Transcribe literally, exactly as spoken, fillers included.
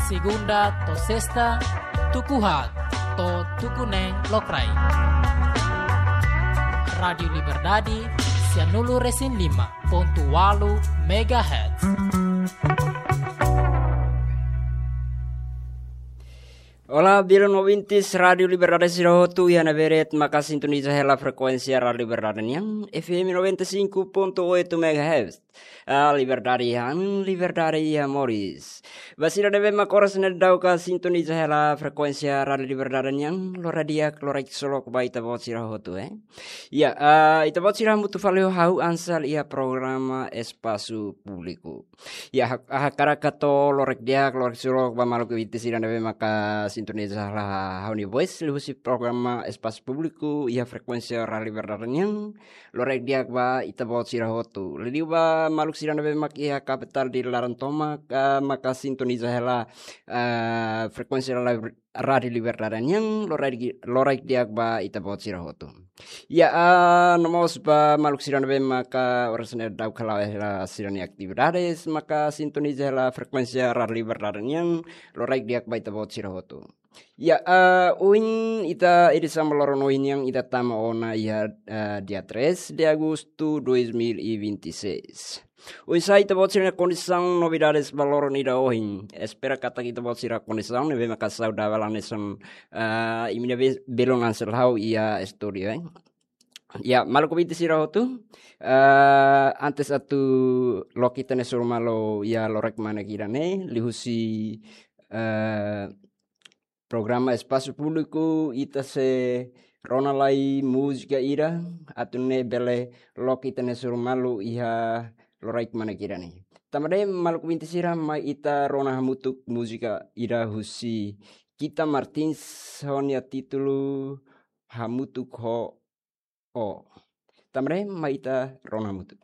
Segunda to'o sesta, tuku haat to'o tuku neen lokraik. Rádiu Liberdade, sianulu-resin-lima pontu ualu megahertz. Olá, belun ouvintes Rádiu Liberdade sira hotu, iha ne'ebé de'it maka sintoniza hela frekuénsia Rádiu Liberdade nian, F M noventa e cinco ponto oito megahertz. Ah, liberdade iha an, liberdade iha moris. Ba sira ne'ebé mak oras ne'e daudauk sintoniza hela frekuénsia Rádiu Liberdade nian, loron di'ak, loron ksolok ba ita-boot sira hotu, eh. Ya, ah, ita-boot sira hamutuk fali ho ha'u Ansel iha programa Espasu Públiku. Ya, hak-, hakarak hato'o loron di'ak, loron ksolok ba maluk ouvinte sira ne'ebé maka sintoniza hela ha'u-nia voice liuhusi programa Espasu Públiku iha frekuénsia Rádiu Liberdade nian, loron di'ak ba ita-boot sira hotu. Liuliu ba maluk sira ne'ebé mak iha kapitál dili laran tomak, ah, maka sintoniza hela, ah, frekuénsia la-, Rádiu Liberdade nian, loron di-, loron di'ak ba ita-boot sira hotu. Ya, ah, no mós ba maluk sira ne'ebé maka oras ne'e daudauk hala'o hela sira-nia atividades, maka sintoniza hela frekuénsia Rádiu Liberdade nian, loron di'ak ba ita-boot sira hotu. Ya, ah, ohin ita edisaun ba loron ohin nian ita tama ona iha, ah, dia três de agosto dois mil e vinte e seis. Oinsá ita-boot sira-nia kondisaun, novidades ba loron ida ohin? Espera katak ita-boot sira kondisaun ne'ebé maka saudavel hanesan, ah, imi-nia be-, belun Ansel ha'u iha estúdiu, eh. Ya, maluk ouvinte sira hotu, ah, antes atu loke ita-nia sorumalu iha loron ida-ne'e, liuhusi, ah, programa Espasu Públiku, ita sei rona lai múzika ida, atu nune'e bele loke ita-nia sorumalu iha loron ida-ne'e. Tanba ne'e maluk ouvinte sira, mai ita rona hamutuk múzika ida husi Kita Martins ho nia títulu Hamutuk ho Ó. Tanba ne'e mai ita rona hamutuk.